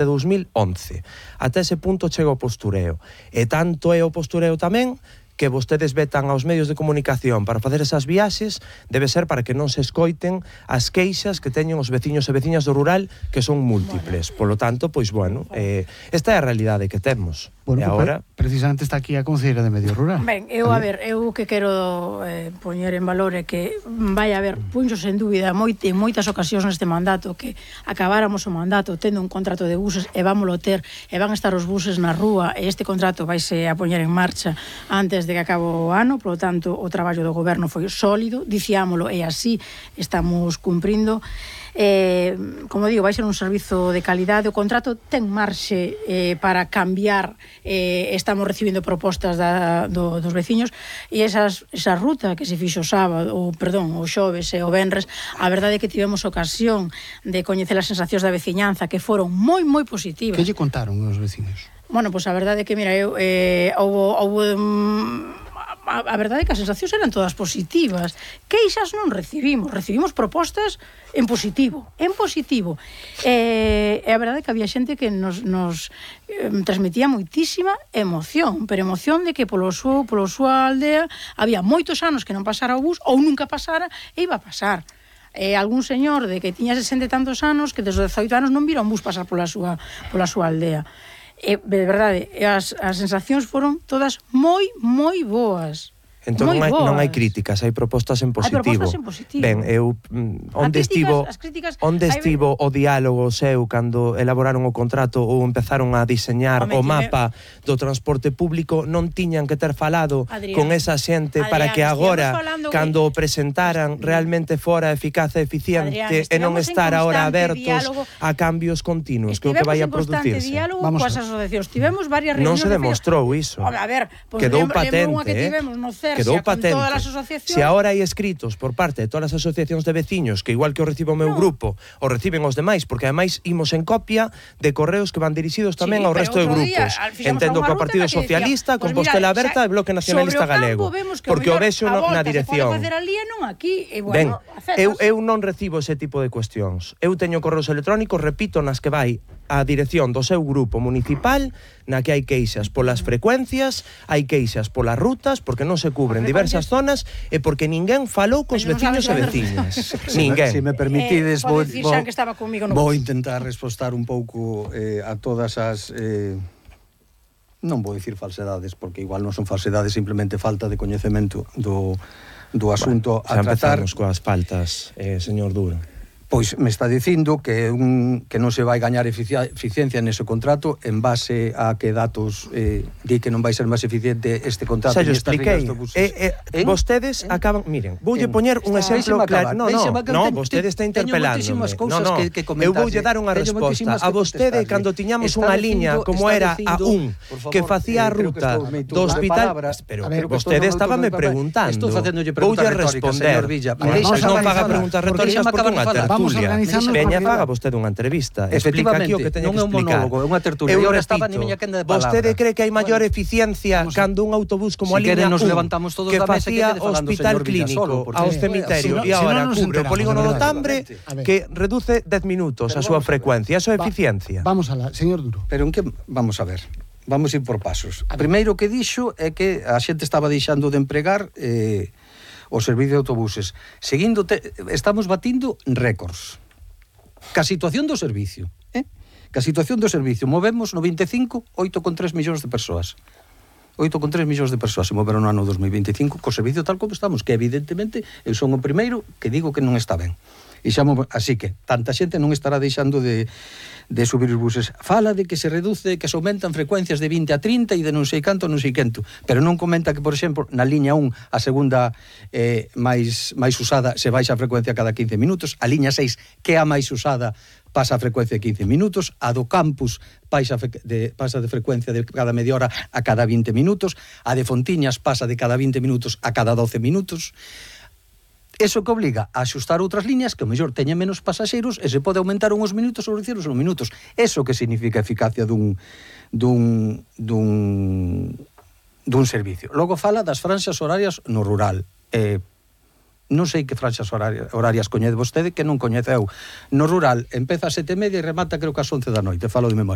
de 2011. Ata ese punto chega o postureo. E tanto é o postureo tamén que vostedes vetan aos medios de comunicación para facer esas viaxes, debe ser para que non se escoiten as queixas que teñen os veciños e veciñas do rural, que son múltiples. Polo tanto, pois, bueno, esta é a realidade que temos. Bueno, e agora precisamente está aquí a Conselleira de Medio Rural. Ben, a ver, eu que quero poñer en valor é que vai haber, punxos en dúbida en moitas ocasións neste mandato, que acabáramos o mandato tendo un contrato de buses e vámoslo ter, e van a estar os buses na rúa, e este contrato vaise a poñer en marcha antes de que acabe o ano. Por lo tanto, o traballo do goberno foi sólido, dicíamolo, e así estamos cumprindo. Como digo, vai ser un servizo de calidade. O contrato ten marxe para cambiar. Estamos recibindo propostas dos veciños, e esa ruta que se fixo o sábado, o xoves e o venres, a verdade é que tivemos ocasión de coñecer as sensacións da veciñanza, que foron moi, moi positivas. Que lle contaron os veciños? Bueno, pois a verdade é que, mira, a verdade é que as sensacións eran todas positivas. Queixas non recibimos propostas en positivo. E a verdade é que había xente que nos transmitía moitísima emoción, pero emoción de que polo súa aldea había moitos anos que non pasara o bus, ou nunca pasara, e iba a pasar. Algún señor de que tiña 60 e tantos anos que desde 18 anos non vira un bus pasar pola súa aldea. De verdade, as sensacións foron todas moi, moi boas. Entón non hai críticas, hai propostas en positivo. Hai propostas en positivo. Ben, onde estivo o diálogo seu cando elaboraron o contrato ou empezaron a diseñar o mapa do transporte público? Non tiñan que ter falado con esa xente para que agora, cando o presentaran, realmente fora eficaz e eficiente, e non estar agora abertos a cambios continuos, que o que vai a producirse? Estivemos en constante diálogo coas asociacións. Tivemos varias reunións. Non se demostrou iso. Quedou patente, quedou patente. Se agora hai escritos por parte de todas as asociacións de veciños, que igual que o recibo o meu grupo, o reciben os demais, porque ademais imos en copia de correos que van dirixidos tamén ao resto de grupos. Entendo que o Partido Socialista, Compostela Aberta e Bloque Nacionalista Galego, porque o vexo na dirección. Ben, eu non recibo ese tipo de cuestións. Eu teño correos electrónicos, repito, nas que vai a dirección do seu grupo municipal, na que hai queixas polas frecuencias, hai queixas polas rutas, porque non se cubren diversas zonas, e porque ninguén falou cos veciños e veciñas. Ninguén. Se me permitides, vou intentar respostar un pouco a todas as... non vou dicir falsedades, porque igual non son falsedades, simplemente falta de coñecemento do asunto a tratar. Xa empezamos coas faltas, señor Duro. Pois me está dicindo que non se vai gañar eficiencia nese contrato en base a que datos di que non vai ser máis eficiente este contrato. Xa yo expliquei. Vostedes acaban... Miren, voulle poñer un exemplo claro. No, vostede está interpelándome. Eu voulle dar unha resposta. A vostede, cando tiñamos unha liña como era a un, que facía a ruta do hospital... Pero vostede estaba me preguntando. Voulle responder. Non faga preguntas retóricas porque unha tertulia. Veña, faga vostede unha entrevista, explica aquí o que teña que explicar. É unha tertulia. Eu repito, vostede cree que hai maior eficiencia cando un autobús como a liña 1 que facía hospital clínico ao cemiterio e agora cubre o polígono do Tambre, que reduce 10 minutos a súa frecuencia? Eso é eficiencia. Vamos alá, señor Duro. Pero en que vamos a ver? Vamos ir por pasos. Primeiro que dixo é que a xente estaba deixando de empregar o servicio de autobuses. Estamos batindo récords. Ca situación do servicio. Ca situación do servicio. Movemos 95, 8,3 millóns de persoas. 8,3 millóns de persoas se moveron no ano 2025 co servicio tal como estamos, que evidentemente eu son o primeiro que digo que non está ben. Así que tanta xente non estará deixando de subir os buses. Fala de que se reduce, que se aumentan frecuencias de 20 a 30 e de non sei canto, pero non comenta que, por exemplo, na liña 1, a segunda máis usada, se baixa a frecuencia cada 15 minutos, a liña 6, que é a máis usada, pasa a frecuencia de 15 minutos, a do campus pasa de frecuencia de cada media hora a cada 20 minutos, a de Fontiñas pasa de cada 20 minutos a cada 12 minutos. Eso que obliga a axustar outras liñas que o mellor teñen menos pasaxeiros e se pode aumentar uns minutos ou reducir uns minutos. Eso que significa a eficacia dun servicio. Logo fala das franxas horarias no rural. non sei que franxas horarias coñece vostede que non coñeceu. No rural empeza a 7:30 e remata creo que ás 11 da noite, falo de memoria.